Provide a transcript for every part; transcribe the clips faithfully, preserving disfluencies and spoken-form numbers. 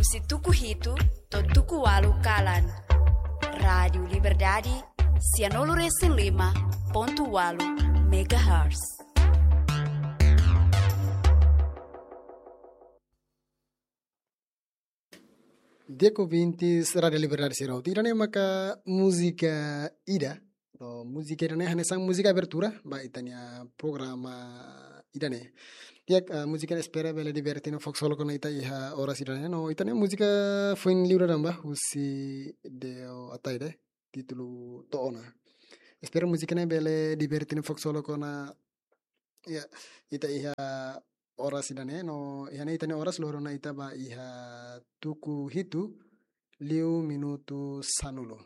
husi tuku hitu to'o tuku ualu kalan. Rádiu Liberdade, sianulu resin lima pontu ualu megahertz. Di'ak ouvintes Rádiu Liberdade sira hotu, ida-ne'e maka múzika ida. No, múzika ida-ne'e hanesan múzika abertura ba ita-nia programa ida-ne'e. Di'ak, ah, múzika ne'e espera bele diverte no fó ksolok ona ita iha oras ida-ne'e. No, ita-nia múzika foin liu dadaun ba, husi Deo Ataide, títulu To'o Ona. Espera múzika ne'e bele diverte no fó ksolok ona, ya, ita iha oras ida-ne'e, no iha ne'e ita-nia oras loron ona ita ba iha tuku hitu liu minutu sanulu.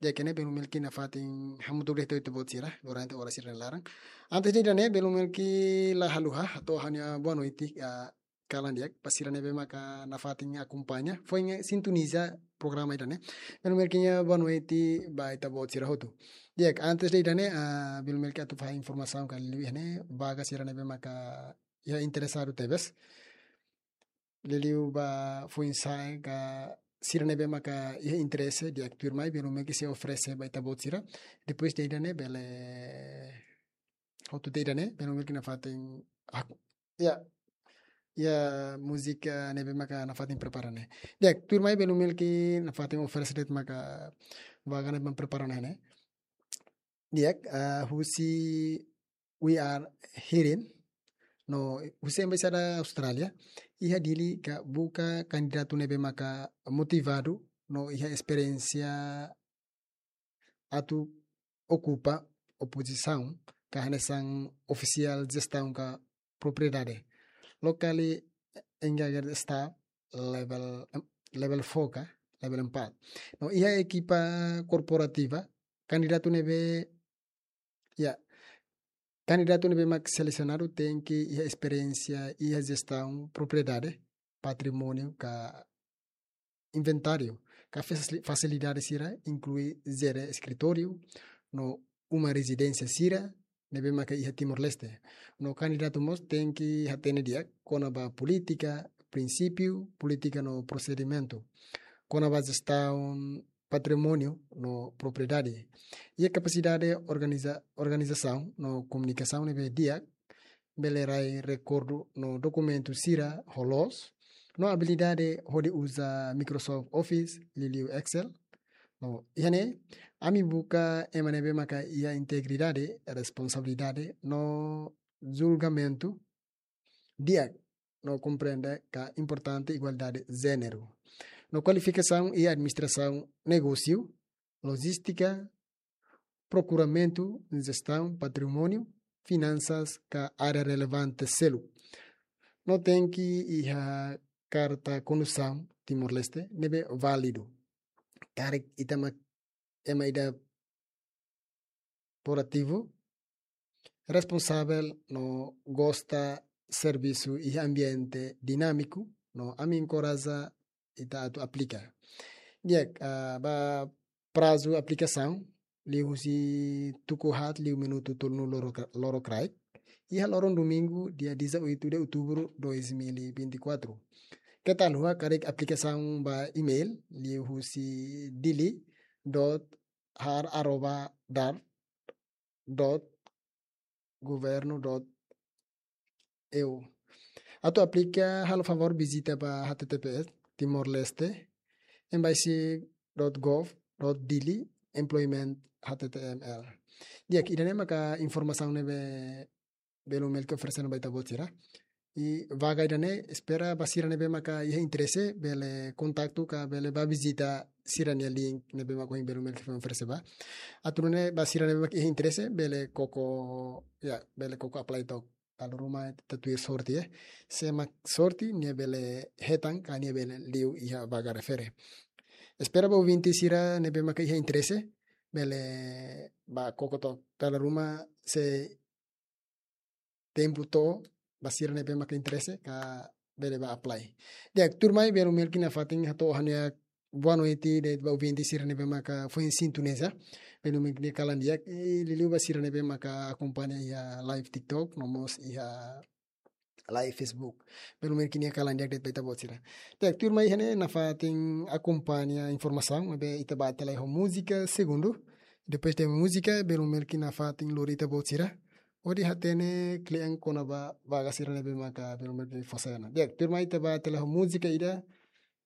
Di'ak, ne'e belun Melki nafatin hamutuk de'it ho ita-boot sira durante oras ida-ne'e laran. Antes de ida-ne'e, belun Melki la haluha hato'o ha'u-nia boa noite, ah, kalan di'ak ba sira ne'ebé maka nafatin akompaña, foin sintoniza programa ida-ne'e. Belun Melki nia boa noite ba ita-boot sira hotu. Di'ak, antes de ida-ne'e, ah, belun Melki atu fahe informasaun katak liuliu iha ne'e vaga sira ne'ebé maka iha interesadu tebes. Liuliu ba foin-sa'e ka sira ne'ebé maka iha interese, di'ak, tuirmai belun Melki sei oferese ba ita-boot sira. Depois de ida-ne'e bele, hotu de ida-ne'e, belun Melki nafatin, ah, ya, ya, múzika ne'ebé maka nafatin prepara ne'e. Di'ak, tuirmai belun Melki nafatin oferese de'it maka vaga ne'ebé prepara ne'e. Di'ak, ah, husi We Are Hearing, no husi Embaixada Austrália iha Dili ka buka kandidatu ne'ebé maka motivadu no iha esperiénsia atu okupa pozisaun ka hanesan ofisiál jestaun ka propriedade. Lokali engager sta level, level four ka level empat. No iha ekipa korporativa, kandidatu ne'ebé, ya, kandidatu ne'ebé mak selesionadu tenke iha esperiénsia iha jestaun propriedade, patrimóniu ka inventáriu, ka fasili-, fasilidade sira inklui jere eskritóriu no uma rezidénsia sira ne'ebé maka iha Timor-Leste. No kandidatu mós tenke hatene di'ak kona-ba polítika, prinsípiu, polítika no prosedimentu kona-ba jestaun patrimóniu no propriedade. Iha kapasidade organiza-, organizasaun no komunikasaun ne'ebé di'ak, bele rai rekordu no dokumentu sira ho loos, no abilidade hodi uza Microsoft Office, liuliu Excel. No iha ne'e, ami buka ema ne'ebé maka iha integridade, responsabilidade no julgamentu di'ak, no komprende ka importante igualdade jéneru. No kualifikasaun iha administrasaun negósiu, lojístika, prokuramentu, jestaun patrimóniu, finansas ka área relevante seluk. No tenke iha karta kondusaun Timor-Leste ne'ebé válidu. Karik ita mak ema ida proativu, responsavel no gosta servisu iha ambiente dinámiku, no ami enkoraja ita atu aplika. Di'ak, ah, ba prazu aplikasaun, liu husi tuku haat liu minutu tolunulu lorok-, lorokraik, iha loron domingu, dia dezoito de outubro dois mil e vinte e quatro. Keta haluha karik aplikasaun ba email, liu husi dili dot har arroba dar dot governo dot eu. Atu aplika, halo favór vizita ba H T T P S Timor-Leste, embassy dot gov dot dili, employment H T M L. Di'ak, ida-ne'e maka informasaun ne'ebé belun Melki oferese ona ba ita-boot sira. I vaga ida-ne'e espera ba sira ne'ebé maka iha interese, bele kontaktu ka bele ba vizita sira-nia link ne'ebé maka ohin belun Melki foin oferese ba. Atu nune'e ba sira ne'ebé maka iha interese, bele koko, ya, bele koko apply took. Dala ruma ita tuir sorte, eh. Sé mak sorte, nia bele hetan, ka nia bele liu iha vaga refere. Espera ba ouvinte sira ne'ebé maka iha interese, bele ba koko took. Dala ruma sé tempu to'o ba sira ne'ebé maka interese ka bele ba apply. Di'ak, tuirmai belun Melki nafatin hato'o ha'u-nia boa noite de'it ba ouvinte sira ne'ebé maka foin sintoniza. Belun Melki nia kalan di'ak, i liuliu ba sira ne'ebé maka akompaña iha live TikTok, no mós iha live Facebook. Belun Melki nia kalan di'ak de'it ba ita-boot sira. Di'ak, tuirmai iha ne'e nafatin akompaña informasaun, ne'ebé ita bá tebes ho múzika segundu. Depois de múzika, Belun Melki nafatin lori ita-boot sira hodi hatene kle'an kona-ba vaga sira ne'ebé maka Belun Melki fó sai ona. Di'ak, tuirmai ita bá tebes ho múzika ida,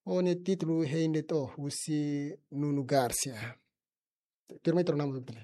ho nia títulu Hein De'it Ó, husi Nuno Garcia. Tuirmai ita rona mós, betul?